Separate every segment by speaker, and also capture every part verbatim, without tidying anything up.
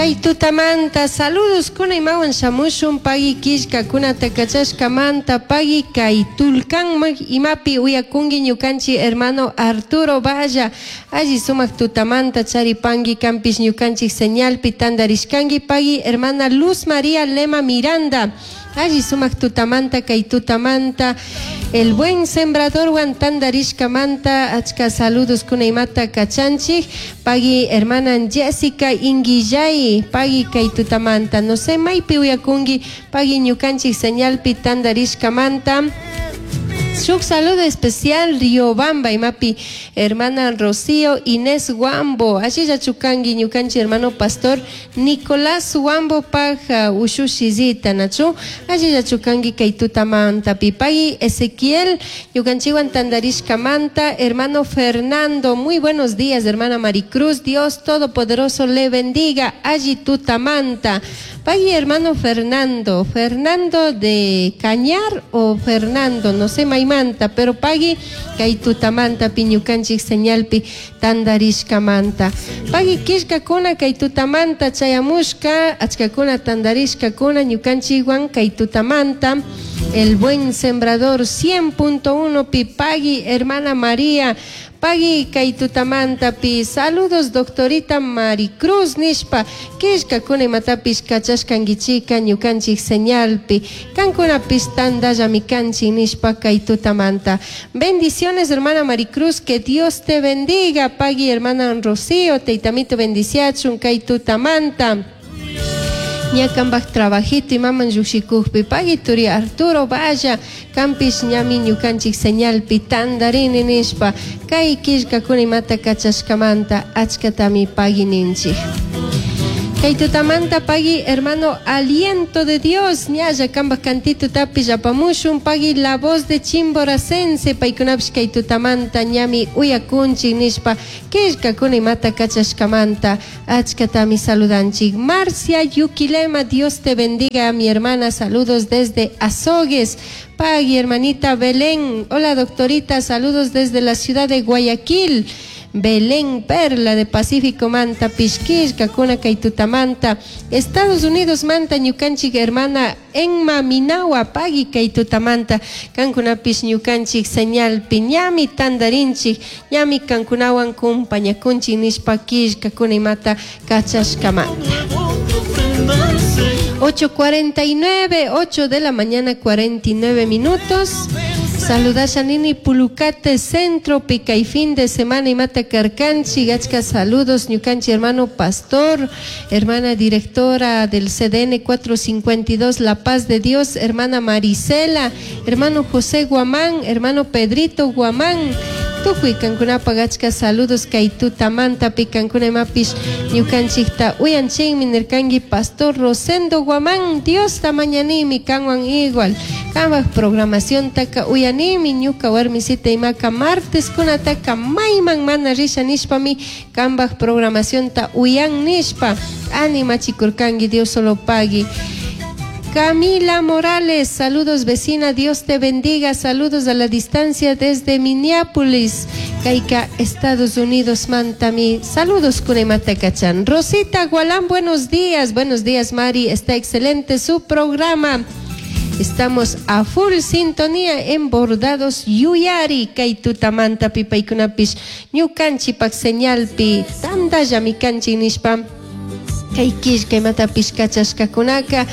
Speaker 1: Kay tutamanta saludos kuna imawan shamushun pagui killkakunata kachashkamanta pagui kay tulkanman imapi uyakunki ñukanchik hermano Arturo Valla alli sumak tutamanta charipanki kanpish ñukanchik señalpi tandarishkanki pagui hermana Luz María Lema Miranda alli sumak tutamanta kay tutamanta el buen sembradorwan tandarishkamanta achka saludos kuna imata kachanchik pagui hermana Jessica Inguillay pagui kay tutamanta no sé maypi uyakunki pagui ñukanchik señalpi tandarishkamanta. Shuk saludo especial Riobamba imapi hermana Rocío Inés Huambo allilla chukanki ñukanchik hermano pastor Nicolás Huambo paj ushushizita nachu allilla chukanki kay tutamanta pagui Ezequiel ñukanchikwan tandarishkamanta hermano Fernando muy buenos días hermana Maricruz Dios Todopoderoso le bendiga alli tutamanta pagui hermano Fernando Fernando de Cañar o Fernando no sé maymanta pero pagui kay tutamanta ñukanchik señalpi tandarishkamanta pagui killkakuna kay tutamanta chayamushka achkakuna tandarishkakuna ñukanchikwan kay tutamanta el buen sembrador cien punto uno pi pagui hermana María pagui kay tutamanta pi saludos doctorita Maricruz nishpa killkakuna imatapish kachashkankichika ñukanchik señalpi kankunapish tandallami kanchik nishpa kay tutamanta. Bendiciones, hermana Maricruz, que Dios te bendiga. Pagui hermana Rocío, teitamito bendiciachun kay tutamanta ña kambaj trabajito imaman llushikukpi pagui turi Arturo Valla kanpish ñami ñukanchik señalpi tandarini nishpa kay killkakuna imata kachashkamanta achkatami pagui ninchik. Kay tutamanta pagui hermano Aliento de Dios ñalla kambaj cantito tapish apamushun pagui La Voz de Chimboracense paykunapish kay tutamanta ñami uyakunchik nishpa killkakuna imata kachashkamanta achkatami saludanchik. Marcia Yuquilema, Dios te bendiga, mi hermana, saludos desde Azogues. Pagui hermanita Belén, hola doctorita, saludos desde la ciudad de Guayaquil. Belén Perla de Pacífico manta pishkishka kuna kay tutamanta Estados Unidos manta ñukanchik hermana Enma Minawa pagui kay tutamanta kankunapish ñukanchik señalpi ñami tandarinchik ñami kankunawan kumpañakunchik nishpa killkakuna imata kachashkamanta. ocho cuarenta y nueve, ocho de la mañana cuarenta y nueve minutos. Saludasha nini Pulucate Centro, pica y fin de semana imata karkanchi, achka saludos, ñukanchi hermano pastor, hermana directora del C D N cuatrocientos cincuenta y dos, La Paz de Dios, hermana Marisela, hermano José Guamán, hermano Pedrito Guamán, tukuy kankunapaq achka saludos kay tutamanta pi kankuna imapish ñukanchikta uyanchikmi nirkanki pastor Rosendo Guamán Diosta mañanimi kanwan igual kanpak programaciontaka uyanimi ñuka warmisita imaka martes kunataka mayman mana risha nishpami kanpak programacionta uyan nishpa animachikurkanki Dios solo pagui. Camila Morales, saludos vecina, Dios te bendiga, saludos a la distancia desde Minneapolis, kayka, Estados Unidos, mantami, saludos kunemata kachan. Rosita Gualán, buenos días, buenos días Mari, está excelente su programa. Estamos a full sintonía en Bordados Yuyari, kay tutamanta pi paykunapish, ñukanchipak señalpi, tandallami kanchik nishpa kay killka imatapish kachashkakunaka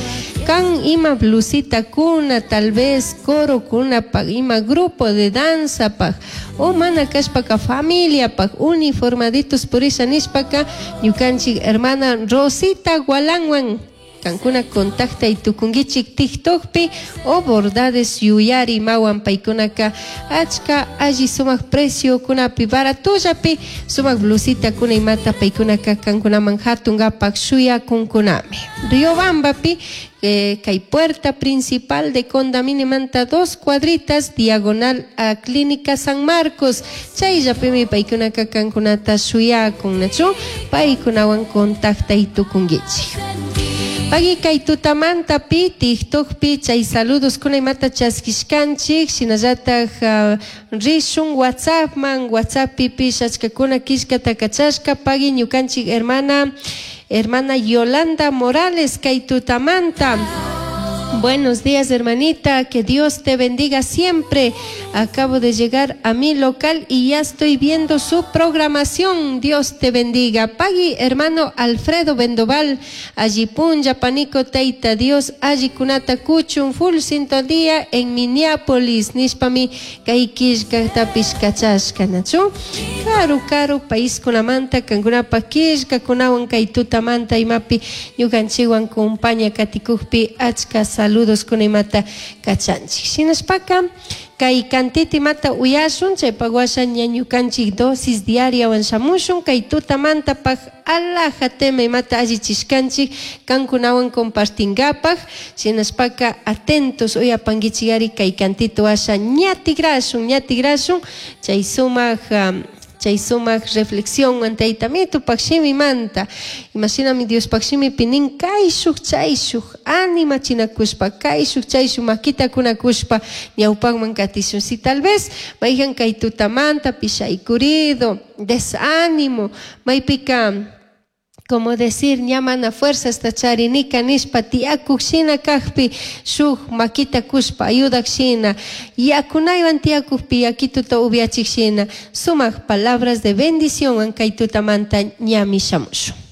Speaker 1: kan ima blusita kuna tal vez coro kunapaq ima grupo de danza paq o mana kashpaka familia paq uniformaditos purisha nishpaka ñukanchik hermana Rosita Gualanwan kankuna contactay tukunkichik TikTokpi o Bordades Yuyari mawan paykunaka achka alli sumak precio kunapi baratollapi sumak blusita kuna imata paykunaka kankunaman hatunkapak shuyakunkunami. Riobambapi eh, kay puerta principal de Condamine manta dos cuadritas diagonal a Clínica San Marcos chayllapimi paykunaka kankunata shuyakun nachu paykunawan contactay tukunkichik. Pagui kay tutamanta pi TikTokpi chay saludos kuna imata chaskishkanchik shinallatak uh, rishun WhatsAppman WhatsAppipish achkakuna killkata kachashka pagui ñukanchik hermana Hermana Yolanda Morales kay tutamanta. Buenos días, hermanita. Que Dios te bendiga siempre. Acabo de llegar a mi local y ya estoy viendo su programación. Dios te bendiga. Pagui, hermano Alfredo Bendoval. Alli punlla, panico, teita, Dios. Alli kunata kuchun, full sintonía en Minneapolis. Nishpami, kay killkatapish kachashka, nachu? Karu, karu, país kunamanta, kankunapa killkakunawan kay tutamanta imapi, ñukanchikwan kumpaña katikukpi, achka saludos kunimata kachanchik. Shinashpaka, kay kantita imata uyashun, chaypak washa ña ñukanchik dosis diariawan shamushun, kay tutamanta paj alaja tema imata allichishkanchik, kankunawan compartingapak, shinashpaka atentos uyapankichikari kay kantito washa ña tigrashun, ña tigrashun, chay sumak, um, chay sumak reflexión tayta mitupak shimimanta imashinami Diospaq shimipi nin kayshuk chayshuk animachinakushpa kayshuk chayshuk makita kunakushpa ñawpakman katishun. Si tal vez mayjan kay tutamanta pishaykurido desánimo maypika como decir ña mana fuerzasta charinika nishpa tiyakuk shina kakpi shuk makita kushpa ayudak shina yakunaywan tiyakukpi yakituta upiachik shina sumak palabras de bendición kay tutamanta ñami shamushun.